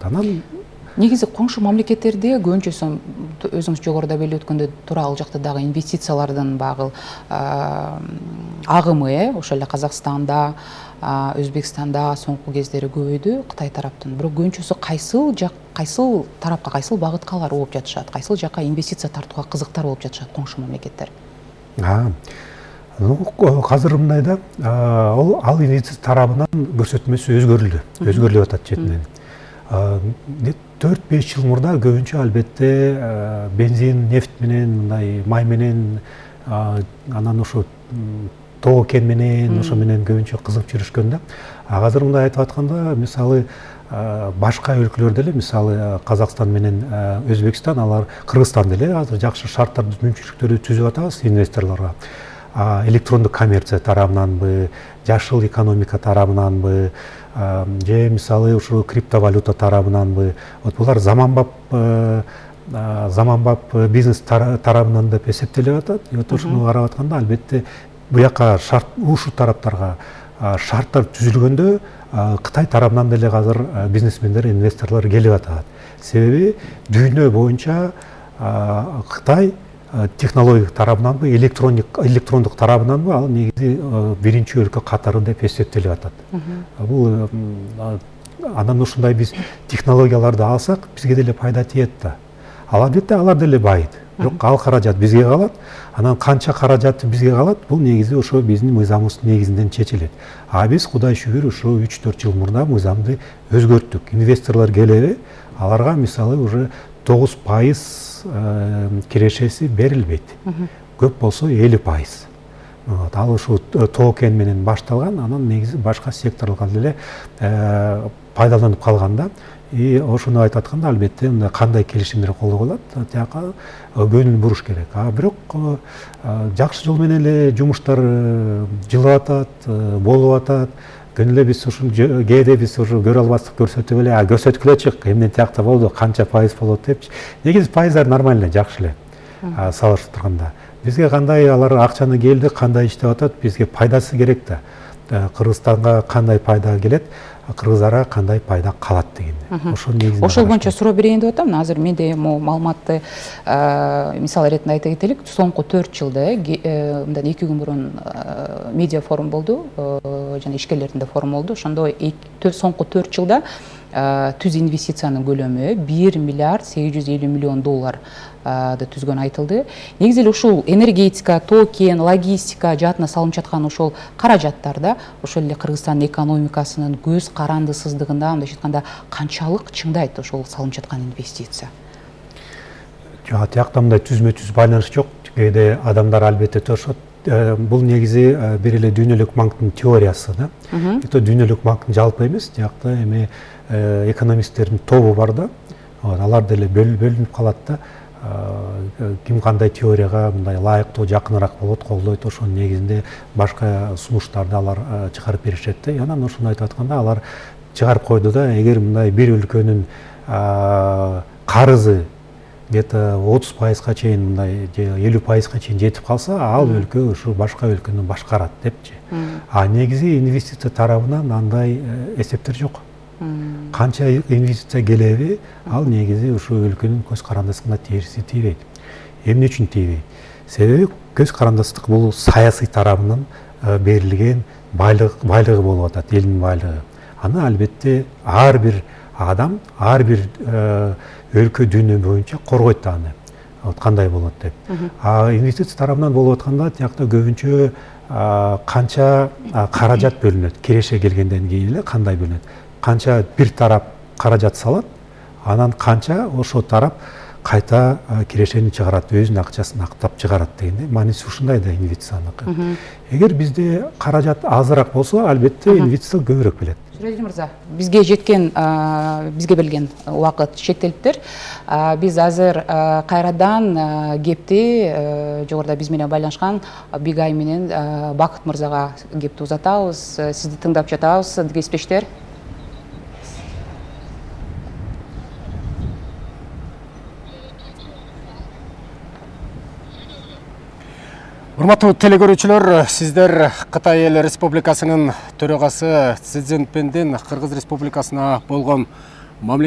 Анан негизи коңшу мамлекеттерде көбүнчөсү өзүңүз жогоруда белип өткөндөй туура ал жакта дагы инвестициялардын багы агымы ошол эле Казакстанда, Өзбекстанда соңку кездери көбөйдү Кытай тараптан. Бирок көбүнчөсү кайсыл тарапка, кайсыл багытка алар ооп жатышат, кайсыл жака инвестиция тартууга кызыктар болуп жатышат коңшу мамлекеттер? Азыр мындай да, ал инвестиция тарабынан көрсөтмөсү өзгөрүлүп атат четинен. 4-5 жыл мурда көбүнчө албетте бензин, нефть менен, мындай май менен, анан ошо тоо кен менен, ошо менен көбүнчө кызыгып жүрүшкөн да. Азыр мындай айтып атканда, мисалы башка өлкөлөрдө эле, мисалы Казакстан менен Өзбекстан, алар Кыргызстан деле азыр жакшы шарттарды, мүмкүнчүлүктөрдү түзүп атабыз инвесторлорго. Электрондук коммерция тарабынанбы, жашыл экономика тарабынанбы, же мисалы ушул криптовалюта тарабынанбы, вот булар заманбап бизнес тарабынан деп эсептелип атат. Вот ушуну карап атканда албетте буяка шарт, ушул тараптарга шарттар түзүлгөндө Кытай тарабынан деле азыр бизнесмендер, инвесторлор келип атат. Себеби дүйнө боюнча Кытай технология тарабынанбы, электрондук тарабынанбы ал негизи биринчи өлкө катары деп эсептелип атат. Бул анан ушундай биз технологияларды алсак, бизге деле пайда тиет да. Албетте алар деле байыйт. Бирок ал каражат бизге калат. Анан канча каражаты бизге калат, бул негизи ошо биздин мыйзамыбыз негизинен чечилет. Биз Кудай шүгүр ушу 3-4 жыл мурда мыйзамды өзгөрттүк. Инвесторлор келеби, аларга мисалы уже 9% кирешеси берилбейт. Көп болсо 50%. Ал ушу тоо кен менен башталган, анан негизи башка секторлорго деле пайдаланып калганда, ошону айтып атканда албетте мындай кандай келишимдер колдо болот, тияка көңүл буруш керек. Бирок жакшы жол менен эле жумуштар жылып атат, болуп атат. Күнү эле биз ушул кээде биз ушу көрө албастык көрсөтүп эле, көрсөткүлө чык, эмне тиякта болду, канча пайыз болот депчи. Негизи пайыздар нормально, жакшы эле салыштырып турганда. Бизге кандай алар акчаны келди, кандай иштеп атат, бизге пайдасы керек да. Кыргызстанга кандай пайда келет, кыргыздарга кандай пайда калат дегенде. Ошол боюнча суроо берейин деп атам. Азыр менде маалыматты мисал иретинде айта кетелик. Соңку 4 жылда, мындан 2 күн мурун медиа форум болду, жана ишкерлердин форум болду. Ошондо соңку 4 жылда түз инвестициянын көлөмү 1 миллиард 850 миллион доллар түзгөн айтылды. Негизи эле ушул энергетика, тоо кен, логистика жаатына салынып жаткан ошол каражаттарда ошол эле Кыргызстандын экономикасынын көз карандысыздыгында, мындайча айтканда, канчалык чыңдайт ошол салынып жаткан инвестиция? Жок, тиякта мындай түзмө-түз байланыш жок. Кээде адамдар албетте тошот. Бул негизи бир эле дүйнөлүк банктын теориясы да. Это дүйнөлүк банктын жалпы эмес, тиякта эми экономисттердин тобу бар да. Алар деле бөлүнүп калат да. Ким кандай теорияга мындай лайыктуу, жакыныраак болот, колдойт, ошонун негизинде башка сунуштарды алар чыгарып беришет да. Анан ошону айтып атканда алар чыгарып койду да, эгер мындай бир өлкөнүн карызы где-то 30%га чейин, мындай 50%га чейин жетип калса, ал өлкө ушу башка өлкөнү башкарат депчи. Негизи инвестиция тарабынан андай эсептер жок. Канча инвестиция келеби, ал негизи ушу өлкөнүн көз карандысына терси тийбейт. Эмне үчүн тийбейт? Себеби көз карандыстык бул саясий тарабынан берилген байлыгы болуп атат, элдин байлыгы. Аны албетте ар бир адам, ар бир өлкө дүйнө боюнча коргойт аны. Кандай болот деп. Инвестиция тарабынан болуп атканда, тиякта көбүнчө канча каражат бөлүнөт, киреше келгенден кийин эле кандай бөлүнөт. Канча бир тарап каражат салат, анан канча ошол тарап кайта кирешени чыгарат, өзүнүн акчасын актап чыгарат дегенде, мааниси ушундай да инвестицияныкы. Эгер бизде каражат азыраак болсо, албетте инвестиция көбүрөөк келет. Сүрөдин мырза, бизге берилген убакыт чектелиптир. Биз азыр кайрадан кепти жогоруда биз менен байланышкан Бигай менен Бакыт мырзага кепти узатабыз. Сизди тыңдап жатабыз, кесиптештер. Урматтуу телекөрүүчүлөр, сиздер Кытай Эл Республикасынын төрагасы Си Цзиньпиндин Кыргыз Республикасына болгон мамлекет